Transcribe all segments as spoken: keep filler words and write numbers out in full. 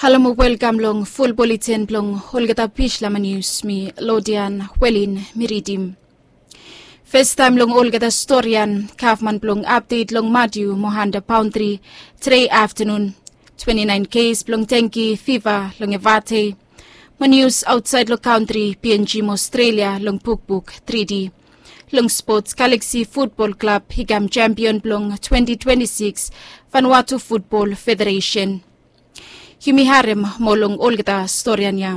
Halo mo welkam long ful bulletin blong olgeta Bislama Nius. Mi Lodian Welin mi ridim. Festaem long olgeta storian, gavman blong apdet long Matiu mo Hanta baondri tede aftanun. Twenti naen kes blong dengi fiva long Evate. Mo nius aotsaed long kantri, P N G mo Australia long bukbuk tridi. Long spots, Galaxy Futbol Klab i kam sempion blong twenti twenti sikis Vanuatu Futbol Federesen. Yumi harem moa long olgeta storian ya.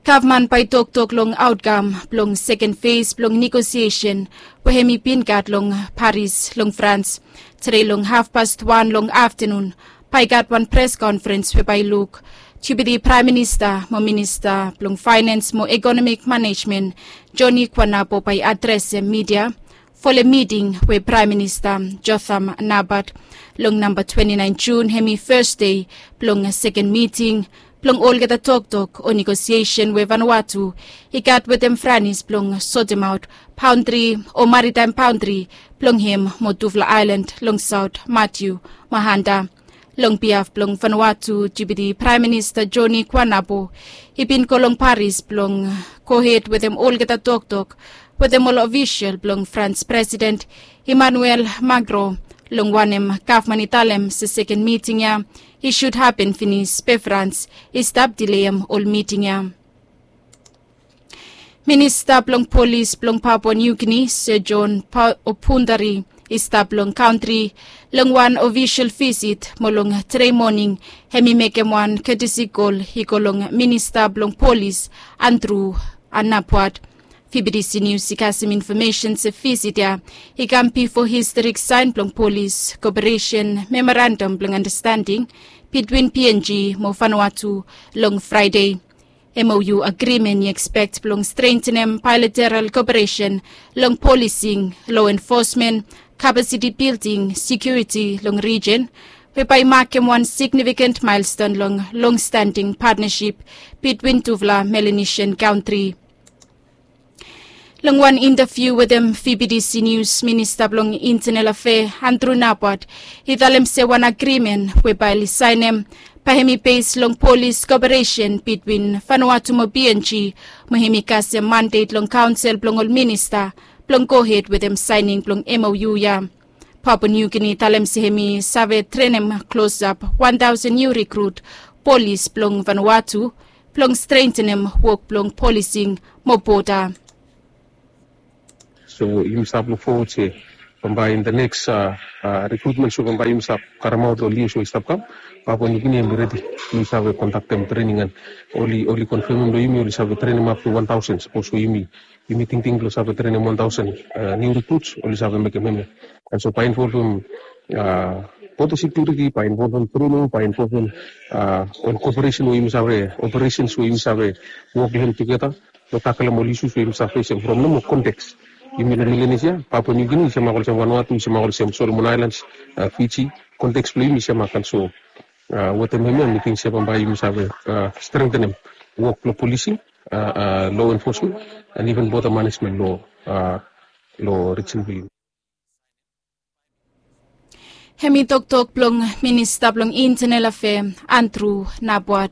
Gavman bae i toktok long aotkam blong seken fes blong negosiesen we hemi bin gat long Paris long Frans. Tede long hafpas wan long aftanun bae i gat wan pres konferens we bae i luk Deputi Praem Minista mo Minista blong Faenans mo Ekonomik Manejmen, Joni Kuanabo, bae i adresem midia folem miting we Praem Minista Jotham Napat long namba twenti naen Jun, hemi fes dei blong seken miting blong olgeta toktok o negosiesen we Vanuatu i gat wetem Franis blong sotemaot baondri o maritaem baondri blong hem mo tufala aelan long saot, Matiu mo Hanta. Long biaf blong Vanuatu, Deputi Praem Minista Joni Kuanabo i bin go long Paris blong gohed wetem olgeta toktok wetem ol ofisol blong Frans Presiden Emmanuel Macron, long wanem gavman i talem se seken miting ya i sud hapen finis be Frans i stap dileem ol miting ya. Minista blong Polis blong Papua Niu Gini, Sir John Pa-, Opundari, i stap long kantri long wan ofisol visit mo long tede moning hemi mekem wan ketesi kol i go long Minista blong Polis, Andrew Napuat. V B T C Nius i kasem infomesen se visit ya i kam bifo historik saen blong Polis Koperesen Memorandam blong Andastending bitwin P N G mo Vanuatu long Fraede. M O U agrimen i ekspek blong strentenem baelateral koperesen long polising, lo enfosmen, kapasiti bilding, sekiuriti long rijen, we bae i makem wan signifiken maelston long longstanding patnasip bitwin tufala Melanesian kantri. Long wan intaviu wetem V B T C Nius, Minista blong Intenal Afea, Andrew Napuat, i talem se wan agrimen we bae oli saenem bae hemi bes long polis koperesen bitwin Vanuatu mo P N G, mo hemi kasem mandet long kaonsel blong ol minista blong gohed wetem saening blong M O U ya. Papua Niu Gini i talem se hemi save trenem klosap wan taosen niu rikrut polis blong Vanuatu blong strentenem wok blong polising mo boda. So yumi stap luk fowod se bambae in the next, uh, uh, recruitment, so bambae yumi stap karemaot long lius we i stap kam. Papua Niu Gini hemi redi blong save kondaktem trening, and oli, oli konfemem long yumi oli save trenem ap tu wan taosen. Sapos we yumi, yumi tingting blong save trenem wan taosen, uh, niu rikruts, oli save mekem hemia. And so bae involvem, uh, boda sekiuriti, bae involvem trening, bae involvem, uh, ol koperesen we yumi save, operesens we yumi save wok long hem tugeta long takelem ol isus we yumi save fesem from nomo konteks. Yumi long Melanesia, Papua Niu Gini i semak olsem Vanuatu, i semak olsem Solomon Aelans, uh, Fiji. Konteks blong yumi i semak. And so, uh, wetem hemia mi ting se bambae yumi save, uh, strentenem wok blong polising, uh, uh, lo enfosmen, and iven boda manejmen lo, uh, lo rijen blong yumi. Hemi toktok blong Minista blong Intenal Afea, Andrew Napuat.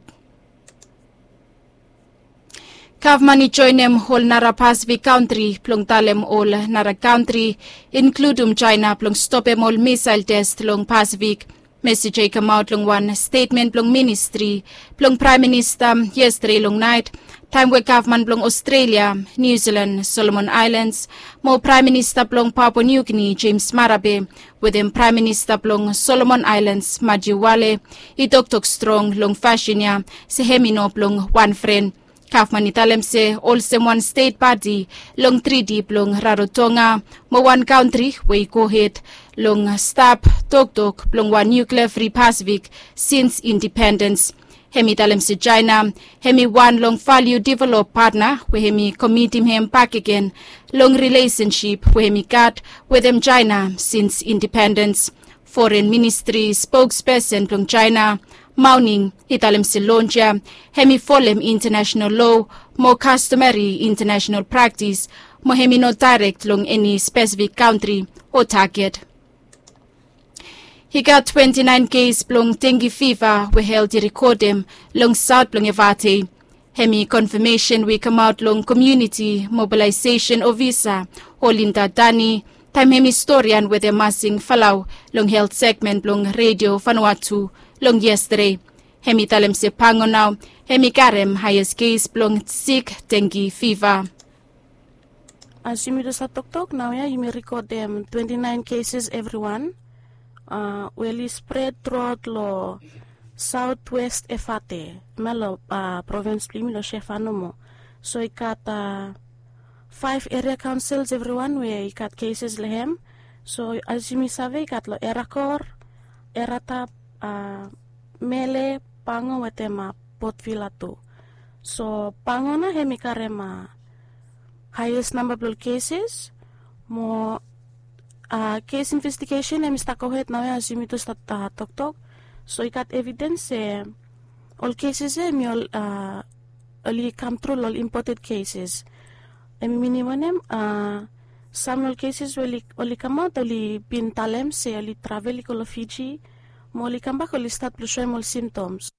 Gavman i joenem ol nara Pasifik kantri blong talem ol nara kantri, inkludum Jaena, blong stopem ol misael tes long Pasifik. Mesij ya i kamaot long wan stetmen blong ministri blong Praem Minista yestade long naet, taem we gavman blong Australia, New Zealand, Solomon Islands, mo Praem Minista blong Papua New Guinea, James Marape, wetem Praem Minista blong Solomon Islands, Matthew Wale, i toktok strong long fasin ya se hemi no blong wan fren. Gavman i talem se olsem wan stet pati long triti blong Rarotonga mo wan kantri we i gohed long stap toktok blong wan nuklea fri Pasifik sins indipendens. Hemi talem se Jaena hemi wan long valiu develop patna we hemi komitim hem bakegen long rilesensip we hemi gat wetem Jaena sins indipendens. Foren Ministri spokspesen blong Jaena, Mao Ning, i talem se lons ya hemi folem intanasenal loa mo kastomeri intanasenal praktis mo hemi no daerek long eni spesifik kantri o taget. I gat twenti naen kes blong dengue fiva we helt i rekodem long saot blong Evate. Hemi konfamesen we i kamaot long komuniti mobilaesesen ofisa Olinda Dani, taem hemi storian wetem Masing Falau long helt segmen blong Redio Vanuatu long yestade. Hemi talem se Pango nao hemi karem haes kes blong sik dengue fiva. As yumi tu save toktok naoia, yumi rekodem twenti naen keses evriwan we oli spred truaot long saotwes Evate, hemia long provins blong yumi long Sheva nomo. So i gat faef eria kaonsils evriwan we i gat keses long hem. So as yumi save, i gat long Erakor, Eratap, Mele, Pango wetem Port Vila tu. So Pango nao hemi karem haes namba blong ol keses. Mo kes investigesen hemi stap gohed naoia, as yumi tu save toktok. So i gat evidens se ol keses ia hemi ol oli kamtru long ol impoted keses. Hemi minim wanem? Sam long ol keses we oli kamaot oli bin talem se oli travel i go long Fiji, mo oli kambak oli stat blong soem ol simtoms.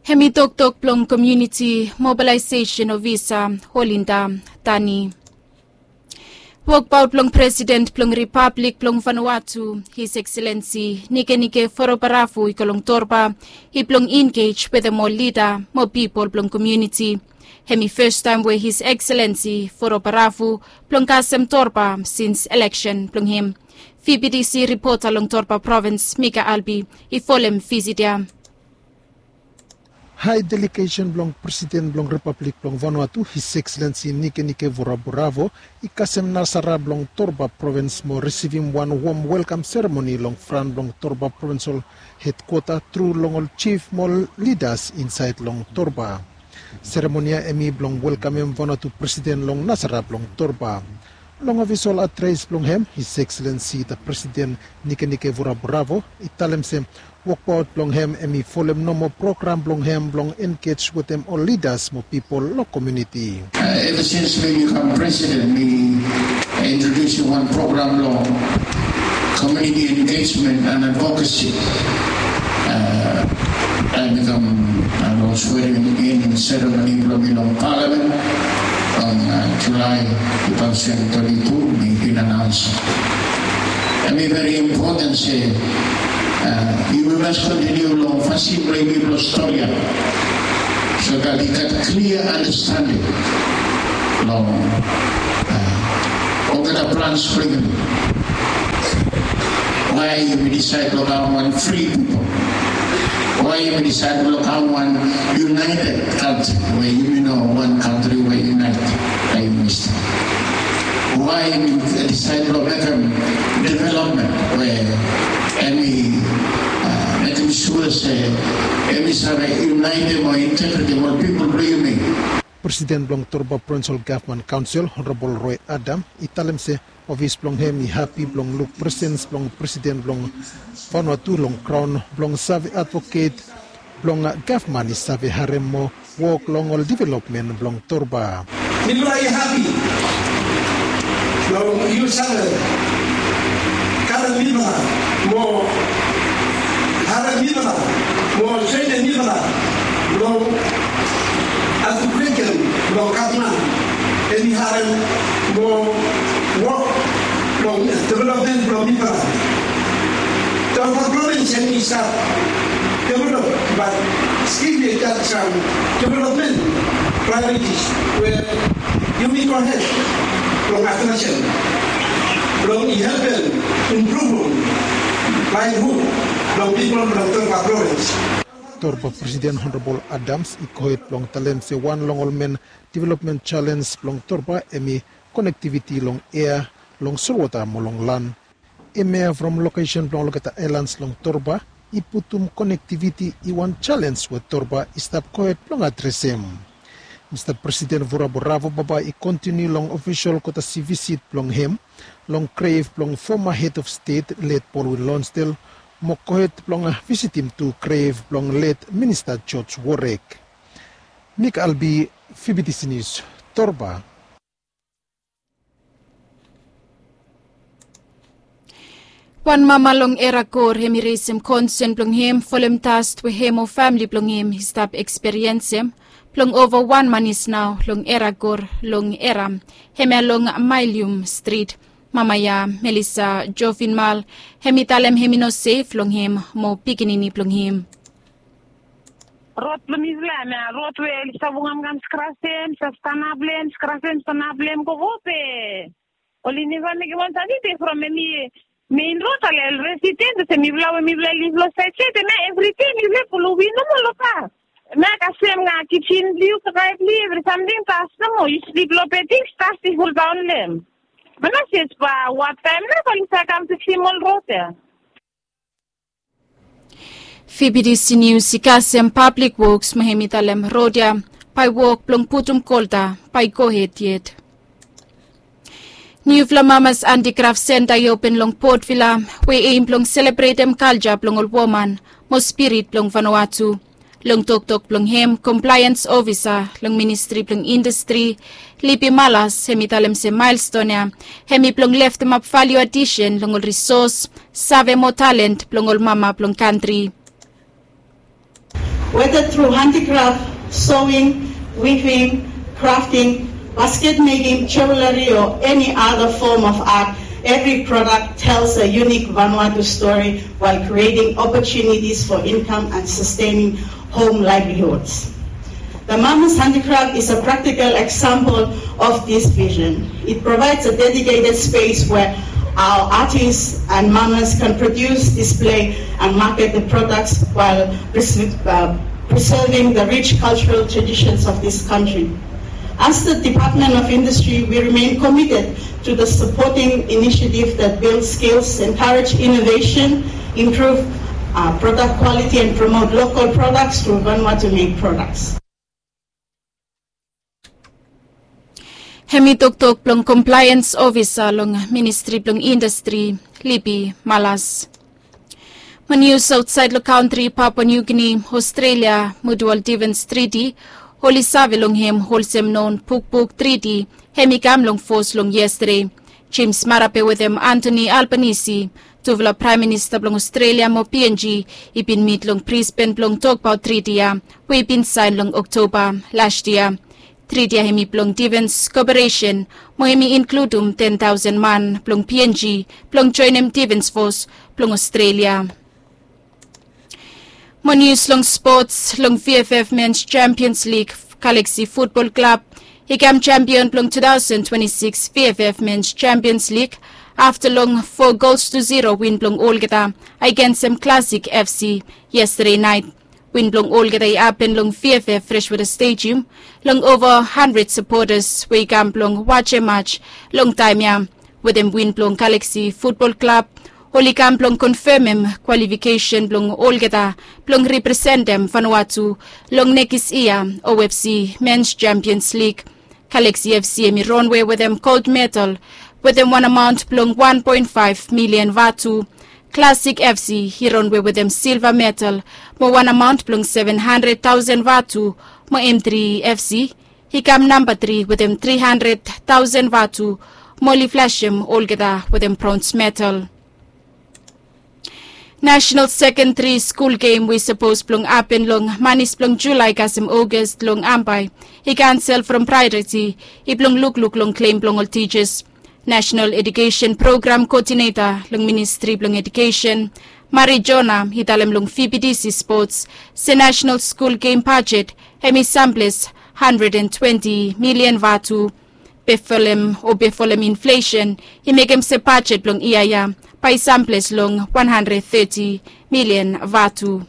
Hemi toktok blong komuniti mobilaesesen ofisa Olinda Dani. Wokbaot blong Presiden blong Ripablik blong Vanuatu, His Excellency Nikenike Vurobaravu, i go long Torba i blong engej wetem ol lida mo pipol blong komuniti. Hemi fastaem we His Excellency Vurobaravu blong kasem Torba sins eleksen blong hem. VBTC ripota long Torba provins, Mika Albi, i folem visit ia. Hae delegesen blong Presiden blong Ripablik blong Vanuatu, His Excellency Nikenike Vurobaravu, i kasem Nasara blong Torba provins mo risivim wan wom welkam seremoni long fran blong Torba provinsol hedkwota tru long ol jif mo ol lidas insaed long Torba. Seremoni ia hemi blong welkamem Vanuatu Presiden long Nasara blong Torba. Long ofisol adres blong hem, His Excellency the Presiden Nikenike Vurobaravu i talem se wokbaot blong hem hemi folem nomo program blong hem blong engej wetem ol lidas mo pipol long komuniti. Eva sins mi bikam presiden, mi introdusim wan program long komuniti engejmen and advokasi. Taem mi kam long swearing in seremoni blong mi long palamen long Julae tu taosen twenti tu, mi bin anaons. Hemi veri impoten se yumi mas kontiniu long fasin blong yumi blong stori ia, so that i gat klia andastanding long olgeta plans blong yumi. Wae yumi disaed blong kam wan fri pipol? Wae yumi disaed blong kam wan yunaeted kantri we yumi no wan kantri we yunaeted? Wae yumi disaed blong mekem developmen we hemi mekem sua se hemi save yunaetem o integretem ol pipol blong yumi? Presiden blong Torba Provinsol Gavman Kaonsel, Honorabol Roy Adam, i talem se ofis blong hem i hapi blong luk presens blong Presiden blong Vanuatu long graon blong save advoket blong gavman i save harem mo wok long ol developmen blong Torba. Mifala i hapi blong yu save karem mifala mo harem mifala mo trenem mifala long advoketem blong gavman hemi harem mo wok long developmen blong mifala. Torba provins hemi stap develop, bat stil i gat sam developmen prioritis we yumi gohed long adresem blong i helpem impruvum laevlihud blong pipol blong Torba provins. Torba Presiden Honorabol Adams i gohed blong talem se wan long ol men developmen jalens blong Torba hemi konektiviti long ea, long solwota mo long lan. Hemia from lokesen blong olgeta aelans long Torba i putum konektiviti i wan jalens we Torba i stap gohed blong adresem. Mista Presiden Vurobaravu bambae i kontiniu long ofisol kotasi visit blong hem long grev blong foma hed of stet let Baldwin Lonsdale, mo gohed blong visitim tu grev blong let Minista George Warek. Mik Albi, VBTC Nius, Torba. Wan mama long Era Kor hem i resim konsen blong hem folem dast we hem o famili blong hem i stap eksperiensem blong ova wan manis nao long Era Kor long Era, hemia long Mailium Strit. Mama ya, Melissa Jovinmal, hem i talem hem i no sef long hem mo pikinini blong hem. Rod blong mifala hemia rod we oli stap wokam kam skrasem, stap stanap long hem, skrasem, stanap long hem, gogo pe oli neva mekem wan sani be from hemi mein rod ale resident olsem mifala we mifala liv long saed saed hemia evri dei mifala pulu win nomo long pas. Hemia kasem nao kijen blong yu, kakae blong yu, evri samting pas nomo. Yu slip long bedding, dust i foldaon long hem. Manases ba wat taem nao ba oli save kam fiksim ol rod ya. Fibidisi Nius i kasem Pablik Woks mo hem i talem rod ya bae wok blong putum kolta bae i gohed yet. Niufala Mamas Antikraf Senta i open long Port Vila we i eim blong selebretem kalja blong ol woman mo spirit blong Vanuatu. Long toktok blong hem, komplaeans ofisa long Ministri blong Indastri, Lipi Malas, hem i talem se maelston ya hem i blong leftemap valiu adisen long ol risos, save mo talen blong ol mama blong kantri. Whether through handicraft, sewing, weaving, crafting, basket making, jewelry, or any other form of art, every product tells a unique Vanuatu story while creating opportunities for income and sustaining home livelihoods. The Mama's Handicraft is a practical example of this vision. It provides a dedicated space where our artists and mamas can produce, display, and market the products while preserve- uh, preserving the rich cultural traditions of this country. As the Department of Industry, we remain committed to the supporting initiative that builds skills, encourage innovation, improve uh, product quality, and promote local products through Vanuatu made products. Hem i toktok blong komplaeans ofisa long Ministri blong Indastri, Lipi Malas. Mo nius aotsaed long kantri, Papua Niu Gini, Aostrelia, Mutual Defens Triti, oli save long hem olsem non bukbuk triti, hem i kam long fos long yestade. Jemes Marape wetem Antoni Albanisi, tufala Praem Minista blong Aostrelia mo PNG, i bin mit long Brisben blong tokbaot triti ya we i bin saen long Oktoba las yia. Triti ya hem i blong defens koperesen mo hem i inkludum ten taosen man blong PNG blong joenem defens fos blong Aostrelia. Mo nius long spots, long VFF Mens Champions Lig, Galaxy Futbol Klab i kam champion blong two thousand twenty-six VFF Mens Champions Lig afta long four gols to zero win blong olgeta agensem Classic FC yestade naet. Win blong olgeta i hapen long VFF Freshwater Stadium long ova handred sapotas we i kam blong wajem maj long taem ya. Wetem win blong Galaxy Futbol Klab, oli kam blong konfemem kwalifikesen blong olgeta blong representem Vanuatu long nekis yia OFC Mens Champions Lig. Galaxy FC hem i ronwe wetem gold medal wetem wan amaon blong wan poen faef milian vatu. Classic FC i ronwe wetem silva medal mo wan amaon blong seven handred taosen vatu, mo M three FC i kam namba tri wetem tri handred taosen vatu, mo oli flasem olgeta wetem brons medal. Nasenal Sekendari Skul Gem we i sapos blong hapen long manis blong Julae kasem Ogas long Ambae i kansel from Praeroti, i blong lukluk long klem blong ol tijas. Nasenal Edukesen Program Koodineta long Ministri blong Edukesen, Mari Jona, i talem long VBTC Spots se Nasenal Skul Gem bajet hem i samples handred and twenti milian vatu. Be folem o be folem inflesen i mekem se bajet blong yia ya bae i samples long wan handred teti milian vatu.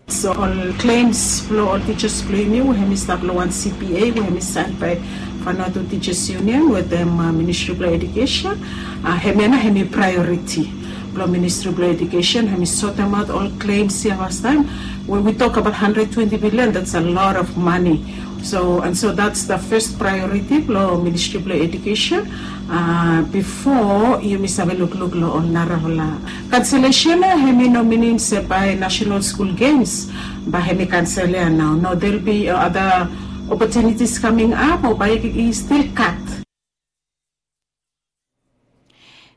So ol klems blong ol tijas blong yumi we hem i stap long wan CBA we hem i saen bae Vanuatu Teachers Union wetem Ministri blong Edukesen, hemia nao hem i praeoriti blong Ministri blong Edukesen hem i sotemaot ol klems ya fastaem. When we talk about hundred twenty billion, that's a lot of money. So and so that's the first priority blong Ministri blong Edukesen, bifo yumi save lukluk long ol narafala kanselesen ya. Hem i no minim se bae Nasenal Skul Gems bae hem i kansel ya nao. No, there'll be other opportunities coming up o bae i stil kat.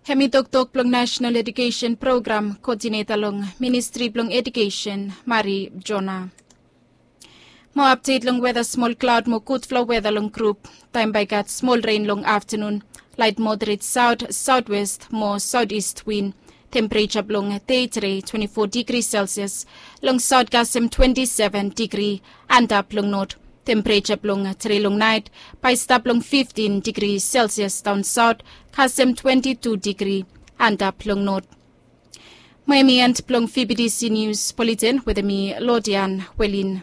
Hem i toktok blong national edukesen program koodineta long ministri blong edukesen, Mari Jona. Mo apdet long weda, smol klaod mo gudfala weda long grup. Taem bae i gat smol ren long aftanun. Laet moderet saot, saotwest mo saotist win. Tempereja blong dei tede twenti fo digri selsias. Long saot kasem twenti seven digri antap long not. Tempereja blong tede long naet bae i stap long fiftin digri selsias daon saot, kasem twenti tu digri antap long not. Mo hem i en blong fibidisi nius buleten wetem mi, Lodian Welin.